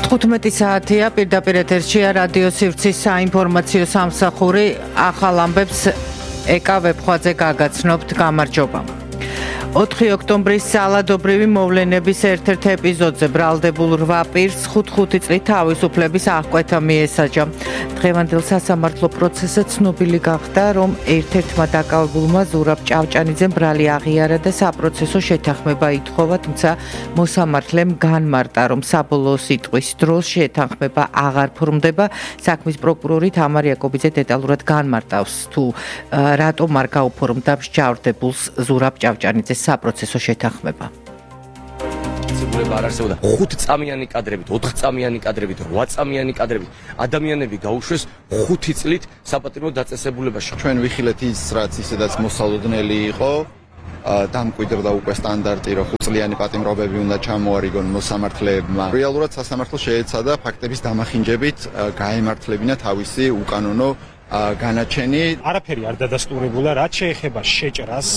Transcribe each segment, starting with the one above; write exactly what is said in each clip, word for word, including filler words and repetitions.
თხუთმეტი საათია პირდაპირ ეთერშია რადიო სივრცის საინფორმაციო სამსახური ახალ ამბებს ეკა ვებხვაძე გაგაცნობთ გამარჯობა. ოთხი ოქტომბრის ძალადობრივი მოვლენების ერთ-ერთ ეპიზოდზე ბრალდებულ რვა პირს ხუთ-ხუთი წლით თავისუფლების აღკვეთა მიესაჯა. დღევანდელ სასამართლო პროცესზე ცნობილი გახდა, რომ ერთ-ერთმა დაკავებულმა ზურაბ ჭავჭანიძემ ბრალი აღიარა და საპროცესო შეთანხმება ითხოვა, თუმცა მოსამართლემ განმარტა, რომ საბოლოო სიტყვის დროს შეთანხმება აღარ ფორმდება. საქმის პროკურორი თამარ იაკობიძე დეტალურად განმარტავს, თუ რატომ არ გაუფორმდა მსჯავრდებულს ზურაბ ჭავჭანიძეს საპროცესო შეთანხმება. ცებულება არ არსებობდა ხუთწამიანი კადრებით, ოთხწამიანი კადრებით, რვაწამიანი კადრებით. ადამიანები გაუშვეს ხუთი წლით საპატიმრო დაწესებულებაში. ჩვენ ვიხილეთ ის, რაც ისედაც მოსალოდნელი იყო, დამკვიდრდა უკვე სტანდარტი, რომ ხუთწლიანი პატიმრობები უნდა ჩამოარიგონ მოსამართლეებმა. რეალურად სასამართლო შეეცადა ფაქტების დამახინჯებით გაემართლებინა თავისი უკანონო განაჩენი. არაფერი არ დადასტურებულა, რაც შეეხება შეჭრას.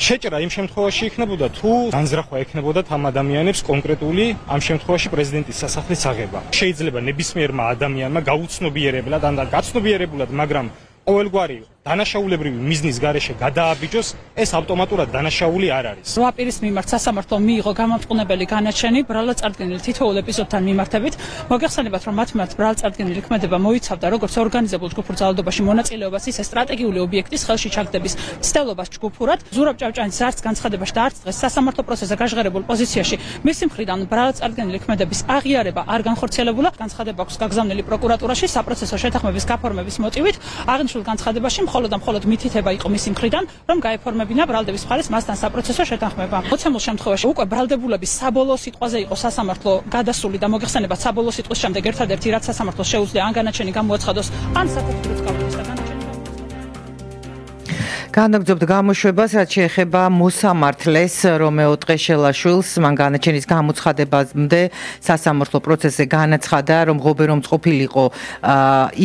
შეჭრა იმ შემთხვევაში იქნებოდა, თუ განზრახვა ექნებოდათ ამ ადამიანებს კონკრეტული, ამ შემთხვევაში პრეზიდენტის სასახლის აღება. შეიძლება ნებისმიერმა ადამიანმა გაუცნობიერებლად, ან გაცნობიერებულად, მაგრამ ყოველგვარი დანაშაულებრივი მიზნის გარეშე გადააბიჯოს, ეს ავტომატურად დანაშაული არ არის. რვა პირის მიმართ სასამართლომ მიიღო გამამტყუნებელი განაჩენი ბრალად-წარდგენილი თითოეულ ეპიზოდთან მიმართებით. მოგეხსენებათ, რომ მათ მიმართ ბრალად-წარდგენილი ქმედება მოიცავდა როგორც ორგანიზებულ ჯგუფურ ძალადობაში მონაწილეობას, ისე სტრატეგიული ობიექტის ხელში ჩაგდების მცდელობას ჯგუფურად. ზურაბ ჭავჭანიძის არც განცხადებაში და არც დღეს სასამართლო პროცესზე გაჟღერებულ პოზიციაში მისი მხრიდან ბრალად-წარდგენილი ქმედების აღიარება არ განხორციელებულა. განცხადება აქვს გაგზავნილი პროკურატურაში საპროცესო შეთანხმების გაფორმების მოტივით. აღნიშნულ განცხადებაში მხოლოდ და მხოლოდ მითითება იყო მისი მხრიდან, რომ გაეფორმებინა ბრალდების მხარეს მასთან საპროცესო შეთანხმება. მოცემულ შემთხვევაში უკვე ბრალდებულების საბოლოო სიტყვაზე იყო სასამართლო გადასული და მოგეხსენებათ, საბოლოო სიტყვის შემდეგ ერთადერთი რაც სასამართლოს შეუძლია ან განაჩენი გამოაცხადოს, ან საფუძვლად გავლის და განაჩენი განაგრძობთ გამოშვებას, რაც შეეხება მოსამართლეს რომეო ტყეშელაშვილს. მან განაჩენის გამოცხადებამდე სასამართლო პროცესზე განაცხადა, რომ ღობერომც ყოფილიყო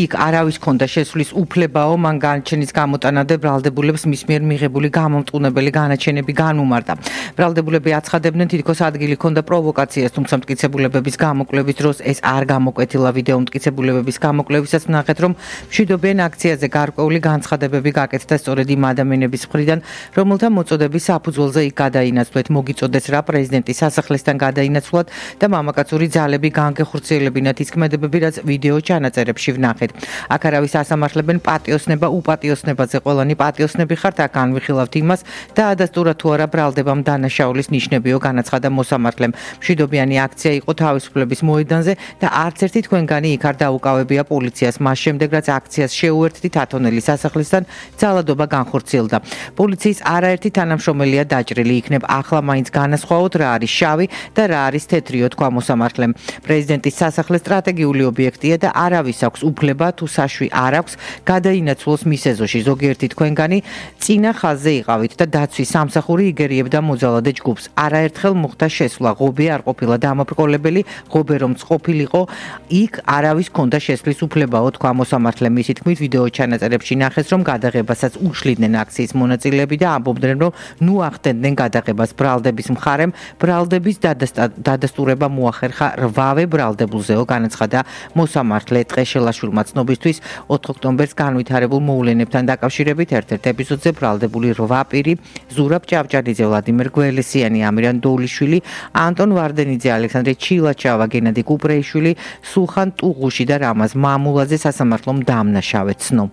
იქ არავის ქონდა შესვლის უფლებაო, მან განაჩენის გამოტანამდე ბრალდებულებს მის მიერ მიღებული გამომტყუნებელი განაჩენები განუმარტა. ბრალდებულები აცხადებდნენ, თითქოს ადგილი ქონდა პროვოკაციას, თუმცა მტკიცებულებების გამოკვლევის დროს ეს არ გამოკვეთილა. ვიდეო მტკიცებულებების გამოკვლევისაც ნახეთ, რომ მშვიდობიან აქციაზე გარკვეული განცხადებები გაკეთდა სწორედ იმ ადამიანების მხრიდან, რომელთა მოწოდების საფუძველზე იქ გადაინაცვლეთ. მოგიწოდეს რა პრეზიდენტის სასახლესთან გადაინაცვლად და მამაკაცური ძალები განგეხორციელებინათ ის ქმედებები, რაც ვიდეო ჩანაწერებში ვნახეთ. აქ არავის ასამართლებენ პატიოსნება უპატიოსნებაზე. ყველანი პატიოსნები ხართ, აქ განვიხილავთ იმას და ადასტურა თუ არა ბრალდებამ დანაშაულის ნიშნებიო, განაცხადა მოსამართლემ. მშვიდობიანი აქცია იყო თავისუფლების მოედანზე და არც ერთი თქვენგანი იქ არ დაუკავებია პოლიციას. მას შემდეგ, რაც აქციას შეუერთდით ათონელის სასახლესთან, ძალადობა განხორციელდა. პოლიციის არაერთი თანამშრომელია დაჭრილი. იქნებ ახლა მაინც განასხვაოთ რა არის შავი და რა არის თეთრიო, თქვა მოსამართლემ. პრეზიდენტის სასახლე სტრატეგიული ობიექტია და არავის აქვს უფლება თუ საშვი არ აქვს გადაინაცვლოს მის ეზოში. ზოგიერთი თქვენგანი წინა ხაზზე იყავით და დაცვის სამსახური იგერიებდა მოძალადე ჯგუფს. არაერთხელ მოხდა შესვლა, ღობე არ ყოფილა დამაბრკოლებელი, ღობე რომც ყოფილიყო, იქ არავის ქონდა შესვლის უფლებაო, თქვა მოსამართლემ. მისი თქმით, ვიდეო ჩანაწერებში ნახეს, რომ გადაღებასაც უშლიდნენ აქციის მონაწილეები და ამბობდნენ, რომ ნუ ახდენდნენ გადაღებას. ბრალდების მხარემ ბრალდების დადასტურება მოახერხა რვავე ბრალდებულზეო, განაცხადა მოსამართლე ტყეშელაშვილმა. ცნობისთვის ოთხ ოქტომბერს განვითარებულ მოვლენებთან დაკავშირებით ერთ-ერთ ეპიზოდზე ბრალდებული რვა პირი ზურაბ ჭავჭანიძე, ვლადიმერ გველესიანი, ამირან დოულიშვილი, ანტონ ვარდენიძე, ალექსანდრე ჩილაჩავა, გენადი კუპრეიშვილი, სულხან ტუღუში და რამაზ მამულაძე სასამართლომ დამნაშავე ცნო.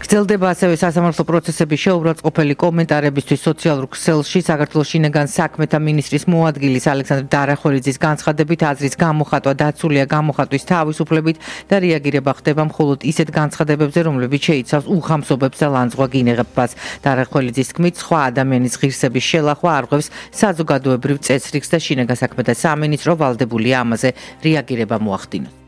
გრძელდება ასევე სასამართლო პროცესების შეურაცხყოფელი კომენტარებისთვის სოციალურ ქსელში. საქართველოს შინაგან საქმეთა მინისტრის მოადგილის ალექსანდრე დარახველიძის განცხადებით, აზრის გამოხატვა დაცულია გამოხატვის თავისუფლებით და რეაგირება ხდება მხოლოდ ისეთ განცხადებებზე, რომლებიც შეიცავს უხამსობებს და ლანძღვაგინებებას. დარახველიძის თქმით, სხვა ადამიანის ღირსების შელახვა არღვევს საზოგადოებრივ წესრიგს და შინაგან საქმეთა სამინისტრო ვალდებულია ამაზე რეაგირება მოახდინოს.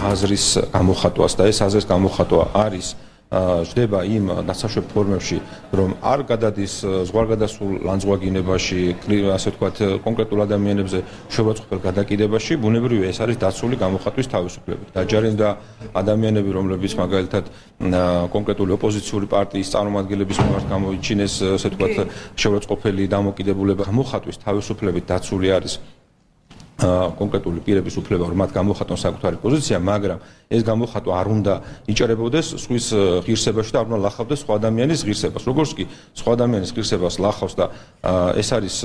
აზრის გამოხატვას და ეს აზრის გამოხატვა არის ჟდება იმ დასაშვებ ფორმებში, რომ არ გადადის ზღვარგადასულ ლანძღვაგინებაში, ასე ვთქვათ, კონკრეტულ ადამიანებზე შეურაცხყოფელ გადაკიდებაში, ბუნებრივია ეს არის დაცული გამოხატვის თავისუფლებით. დაჯარიმდა ადამიანები, რომლებიც მაგალითად კონკრეტული ოპოზიციური პარტიის წარმომადგენლების მიმართ გამოიჩინეს, ასე ვთქვათ, შეურაცხყოფელი დამოკიდებულება გამოხატვის თავისუფლებით დაცული არის კონკრეტული პირების უფლება, რომ მათ გამოხატონ საკუთარი პოზიცია, მაგრამ ეს გამოხატვა არ უნდა იჭერებოდეს სხვის ღირსებაში და არ უნდა ლახავდეს სხვა ადამიანის ღირსებას. როგორც კი სხვა ადამიანის ღირსებას ლახავს და ეს არის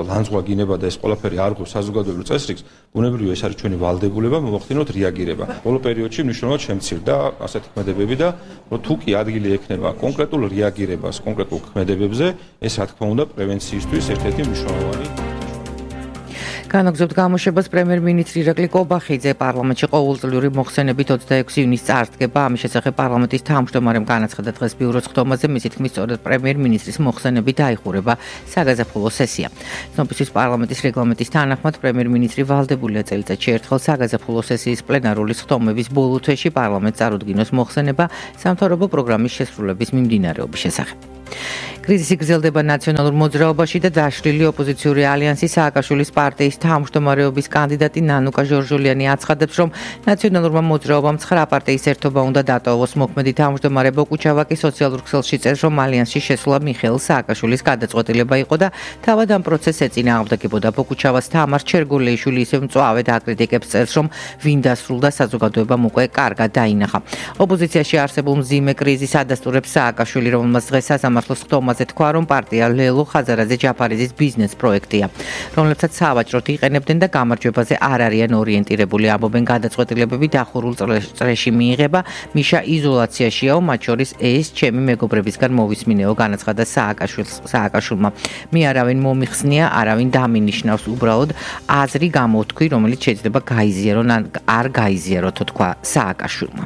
ლანძღვაგინება და ეს ყველაფერი არ ღვევს საზოგადოებრივ წესრიგს, ბუნებრივია ეს არის ჩვენი ვალდებულება, მოვახდინოთ რეაგირება. ბოლო პერიოდში მნიშვნელოვნად შემცირდა ასეთი ქმედებები და თუ კი ადგილი ექნება კონკრეტულ რეაგირებას კონკრეტულ ქმედებებზე, ეს რა თქმა უნდა პრევენციისთვის ერთ-ერთი მნიშვნელოვანი განაგზობთ გამოშვებას პრემიერ-მინისტრი ირაკლი კობახიძე პარლამენტში ყოველწლიური მოხსენებით ოცდაექვსი ივნისს წარდგება. ამის შესახებ პარლამენტის თავმჯდომარემ განაცხადა დღეს ბიუროს ხდომაზე, მისი თქმით, სწორედ პრემიერ-მინისტრის მოხსენებით დაიხურება საგაზაფხულო სესია. ცნობისთვის პარლამენტის რეგლამენტის თანახმად პრემიერ-მინისტრი ვალდებულია წელიწადში ერთხელ საგაზაფხულო სესიის პლენარული ხდომების ბოლო თვეში პარლამენტს წარუდგინოს მოხსენება სამთავრობო პროგრამის შესრულების მიმდინარეობის შესახებ. კრიზისი გრძელდება ნაციონალურ მოძრაობაში და დაშლილი ოპოზიციური ალიანსი სააკაშვილის პარტიის თავმჯდომარეობის კანდიდატი ნანუკა ჟორჟოლიანი აცხადებს, რომ ნაციონალურმა მოძრაობამ ცხრა პარტიის ერთობა უნდა დატოვოს. მოქმედი თავმჯდომარე ბოკუჩავაკი სოციალურ ქსელში წერს, რომ ალიანსში შესვლა მიხეილ სააკაშვილის გადაწყვეტილება იყო და თავად ამ პროცესს ეწინააღმდეგებოდა. ბოკუჩავას თამარ ჩერგოლეიშვილი ისევ მწვავედ აკრიტიკებს წერს, რომ ვინ დასრულდა საზოგადოებამ უკვე კარგად დაინახა. ოპოზიციაში არსებულ მძიმე კრიზისს ადასტურებს სააკაშვილი, რომელმაც დღეს სასამართლოს ხდომაზე თქვა, რომ პარტია ლელო ხაზარაძე ჯაფარიძის ბიზნეს პროექტია, რომლებსაც სავაჭროდ იყენებდნენ და გამარჯვებაზე არ არიან ორიენტირებული. ამბობენ, გადაწყვეტილებები დახურულ წრეში მიიღება, მიშა იზოლაციაშიაო, მათ შორის ეს ჩემი მეგობრებისგან მოვისმინეო, განაცხადა სააკაშვილმა. მე არავინ მომიხსნია, არავინ დამინიშნავს, უბრალოდ აზრი გამოვთქვი, რომელიც შეიძლება გაიზიარონ ან არ გაიზიაროთ, თქვა სააკაშვილმა.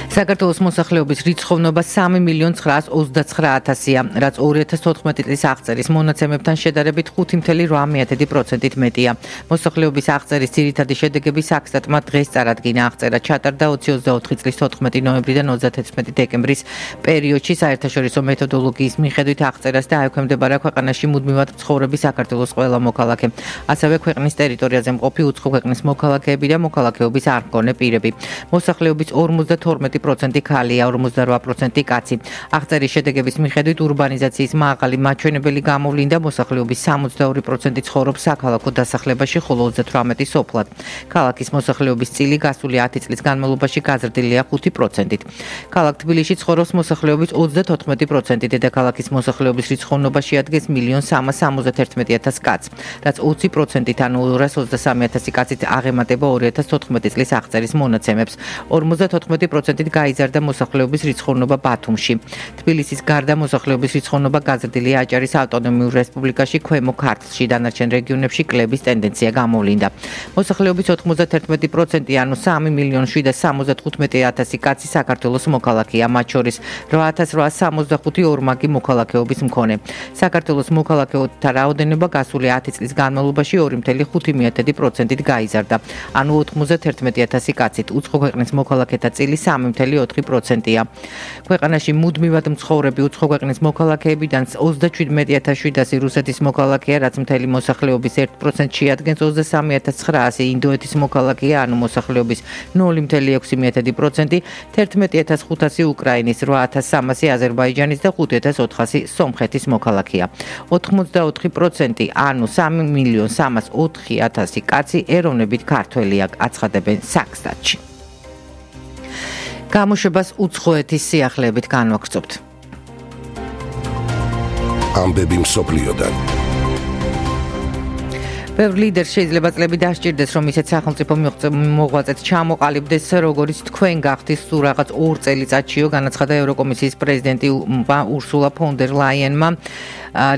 საქართველოს მოსახლეობის რიცხოვნობა სამი მილიონ ცხრაას ოცდაცხრა ათასია, რაც ორი ათას თოთხმეტი წლის აღწერის მონაცემებთან შედარებით ხუთი მცდე ორი პროცენტით მეტია. მოსახლეობის აღწერის ძირითადი შედეგები საქსტატმა დღეს წარადგინა. აღწერა ჩატარდა ოცი ოცდაოთხი წლის თოთხმეტი ნოემბრიდან ოცდათექვსმეტი დეკემბრის პერიოდში. საერთაშორისო მეთოდოლოგიის მიხედვით აღწერას დაექვემდებარა ქვეყანაში მუდმივად მცხოვრები საქართველოს ყველა მოქალაქე, ასევე ქვეყნის ტერიტორიაზე მყოფი უცხო ქვეყნის მოქალაქეები და მოქალაქეობის არ მქონე პირები. მოსახლეობის ორმოცდათორმეტი პროცენტი ქალია, ორმოცდარვა პროცენტი კაცი. აღწერის შედეგების მიხედვით ურბანიზაციის მაღალი მაჩვენებელი გამოვლინდა, მოსახლეობის სამოცდაორი პროცენტი ცხოვრობს საქალაქო დასახლებაში, ხოლო ოცდათვრამეტი სოფლად. ქალაქის მოსახლეობის წილი გასული ათი წლის განმავლობაში გაზრდილია ხუთი პროცენტით. ქალაქ თბილისში ცხოვრობს მოსახლეობის ოცდათოთხმეტი პროცენტი, დედაქალაქის მოსახლეობის რიცხოვნობა შეადგენს მილიონ სამას სამოცდაერთმეტი ათას კაცს, რაც ოცი პროცენტით, ანუ ორას ოცდასამი ათასი კაცით აღემატება ორი ათას თოთხმეტი წლის აღწერის მონაცემებს. ორმოცდათოთხმეტი პროცენტით გაიზარდა მოსახლეობის რიცხოვნობა ბათუმში. თბილისის გარდა მოსახლეობის რიცხოვნობა გაზრდილია აჭარის ავტონომიურ რესპუბლიკაში, ქვემო ქართლში, დანარჩენ რეგიონებში კლების ტენდენცია გამოვლინდა. მოსახლეობის ოთხმოცდაერთმეტი პროცენტი, ანუ სამი მილიონ შვიდას სამოცდათხუთმეტი ათასი კაცი საქართველოს მოქალაქეა, მათ შორის რვა ათას რვაას სამოცდახუთი ორმაგი მოქალაქეობის მქონე. საქართველოს მოქალაქეთა რაოდენობა გასული ათი წლის განმავლობაში ორი მცდე ხუთი პროცენტით გაიზარდა, ანუ ოთხმოცდაერთმეტი ათასი კაცით. უცხო ქვეყნის მოქალაქეთა წილი სამი მცდე ოთხი პროცენტია. ქვეყანაში მუდმივად მცხოვრები უცხო ქვეყნის მოქალაქეებიდან ოცდაშვიდმეტი ათას შვიდასი რუსეთის მოქალაქეა, რაც მთელი მოსახლეობის ერთ პროცენტს შეადგენს. ოცდასამი ათას ცხრაასი ინდოეთის მოქალაქეა, ანუ მოსახლეობის ნული მცდე ექვსი პროცენტი, თერთმეტი ათას ხუთასი უკრაინის, რვა ათას სამასი აზერბაიჯანის და ხუთი ათას ოთხასი სომხეთის მოქალაქეა. ოთხმოცდაოთხი პროცენტი, ანუ სამი მილიონ სამას ოთხი ათასი კაცი ეროვნებით ქართველია, აცხადებენ საქსტატში. გამოშვებას უცხოეთის სიახლეებით განვაგრძობთ. ამბები მსოფლიოდან. ბევრი ლიდერი შეიძლება წლები დასჭირდეს, რომ ისეთ სახელმწიფო მოღვაწეც ჩამოყალიბდეს, როგორც თქვენ გახდით თუ რაღაც ორ წელიწადშიო, განაცხადა ევროკომისიის პრეზიდენტი ურსულა ფონ დერ ლაიენმა,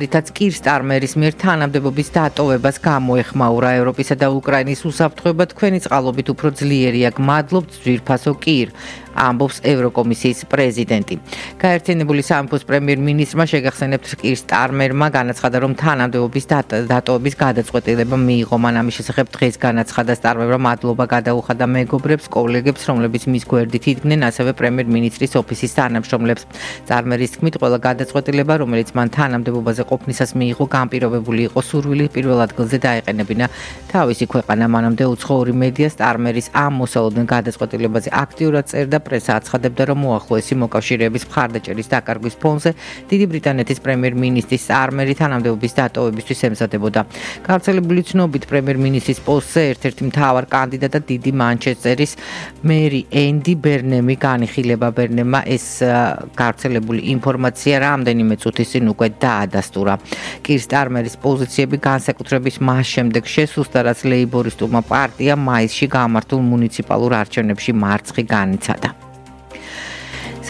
რითაც კირ სტარმერის მიერ თანამდებობის დატოვებას გამოეხმაურა. ევროპისა და უკრაინის უსაფრთხოება თქვენი წყალობით უფრო ძლიერია. გმადლობთ, ძვირფასო კირ. ამბობს ევროკომისიის პრეზიდენტი. გაერთიანებული სამეფოს პრემიერ-მინისტრმა შეგახსენებთ კირ სტარმერმა განაცხადა, რომ თანამდებობის დატოვების გადაწყვეტილება მიიღო. მან ამის შესახებ დღეს განაცხადა სტარმერმა მადლობა გადაუხადა მეგობრებს, კოლეგებს, რომლებიც მის გვერდით იდგნენ, ასევე პრემიერ-მინისტრის ოფისის თანამშრომლებს. სტარმერის თქმით, ყველა გადაწყვეტილება, რომელიც მან თანამდებობაზე ყოფნისას მიიღო, განპირობებული იყო სურვილი პირველ ადგილზე დაეყენებინა თავისი ქვეყანა. მანამდე უცხოური მედია სტარმერის ამ მოსალოდნელ გადაწყვეტილებაზე აქტიურად წერდა, პრესა აცხადებდა, რომ უახლოესი მოკავშირეების მხარდაჭერის დაკარგვის ფონზე დიდი ბრიტანეთის პრემიერ-მინისტრის სტარმერი თანამდებობის დატოვებისთვის ემზადებოდა. გავრცელებული ცნობით პრემიერ-მინისტრის პოსტზე ერთ-ერთი მთავარ კანდიდატად დიდი მანჩესტერის მერი ენდი ბერნემი განიხილება. ბერნემმა ეს გავრცელებული ინფორმაცია რამდენიმე წუთის წინ უკვე დაადასტურა. კირ სტარმერის პოზიციები განსაკუთრების მას შემდეგ შესუსტა, რაც ლეიბორისტულმა პარტიამ მაისში გამართულ მუნიციპალურ არჩევნებში მარცხი განიცადა.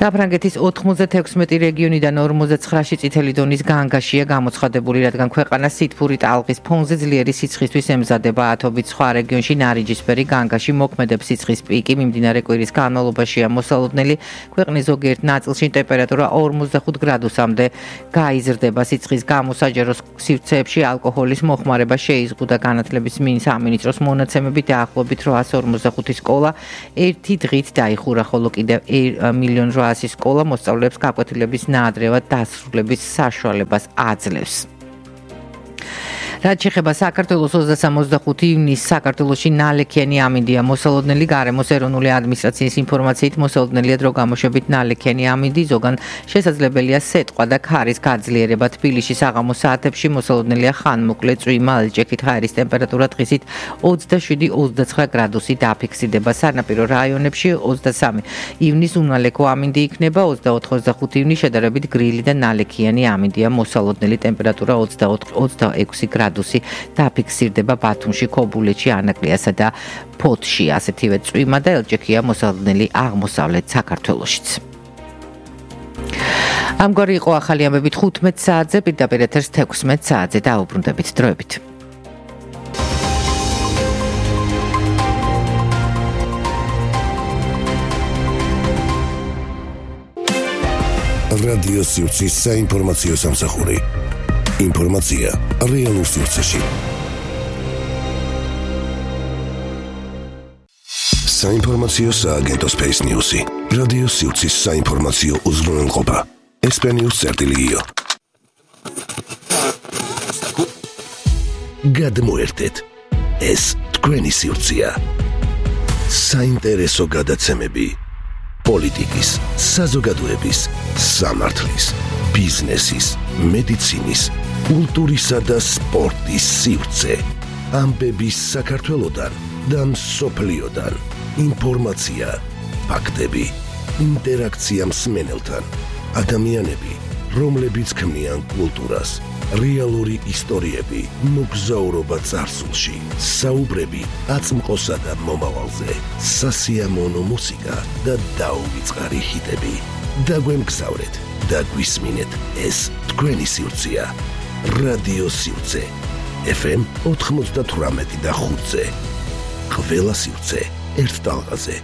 საფრანგეთის ოთხმოცდათექვსმეტი რეგიონიდან ორმოცდაცხრაში წითელი დონის განგაშია გამოცხადებული, რადგან ქვეყანა სითბური ტალღის ფონზე ძლიერი სიცხისთვის ემზადება. ათობით სხვა რეგიონში ნარიჯისფერი განგაში მოქმედებს. სიცხის პიკი მიმდინარე კვირის განმავლობაშია მოსალოდნელი. ქვეყნის ზოგიერთ ნაწილში ტემპერატურა ორმოცდახუთ გრადუსამდე გაიზრდება. სიცხის გამო საჯარო სივრცეებში ალკოჰოლის მოხმარება შეიზღუდა. განათლების სამინისტროს მონაცემებით დაახლოებით რვაას ორმოცდახუთი სკოლა ერთი დღით დაიხურა, ხოლო კიდევ მილიონ რვაასი სკოლა მოსწავლეებს გაკვეთილების ნაადრევად დასრულების საშუალებას აძლევს. რაც შეეხება საქართველოს ოცდასამ ოცდახუთი ივნისს საქართველოში ნალექიანი ამინდია მოსალოდნელი. გარემოს ეროვნული ადმინისტრაციის ინფორმაციით მოსალოდნელია დრო გამოშვებით ნალექიანი ამინდი, ზოგან შესაძლებელია სეტყვა და ქარის გაძლიერება. თბილისში საღამოს საათებში მოსალოდნელია ხანმოკლე წვიმა, ელჭექით ჰაერის ტემპერატურა დღისით ოცდაშვიდი ოცდაცხრა გრადუსი დაფიქსირდება. სანაპირო რაიონებში ოცდასამი ივნის უნალექო ამინდი იქნება, ოცდაოთხი ოცდახუთი ივნის შედარებით გრილი და ნალექიანი ამინდია. მოსალოდნელი ტემპერატურა ოცდაოთხ ოცდაექვსი გრადუსი დაფიქსირდება ბათუმში, ქობულეთში, ანაკლიასა და ფოთში. ასეთივე წვიმა და ელჭექია მოსალოდნელი აღმოსავლეთ საქართველოშიც. ამგვარი იყო ახალი ამბები თხუთმეტ საათზე, პირდაპირ ეთერს თექვსმეტ საათზე. დაუბრუნდებით დროებით. რადიო სივრცის საინფორმაციო სამსახური. ინფორმაცია რეალურ სივრცეში. საინფორმაციო სააგენტო Space News-ი. რადიო სივრცის საინფორმაციო უზრუნველყოფა. ესპანიურ წერტილიო. გადმოერთეთ. ეს თქვენი სივრცეა. საინტერესო გადაცემები. პოლიტიკის, საზოგადოების, სამართლის, ბიზნესის, მედიცინის, კულტურისა და სპორტის სივრცე. ამბების საქართველოდან და მსოფლიოდან. ინფორმაცია, ფაქტები, ინტერაქცია მსმენელთან. ადამიანები, რომლებიც ქმნიან კულტურას. რეალური ისტორიები, მოგზაურობა წარსულში, საუბრები აწმყოსა და მომავალზე, სასიამოვნო მუსიკა და დაუვიწყარი ჰიტები. დაგვემგზავრეთ და გვისმინეთ, ეს თქვენი სივრცეა. რადიო სივრცე. ეფ ემ ოთხმოცდათვრამეტი და ხუთზე. ყველა სივრცე ერთ ტალღაზე.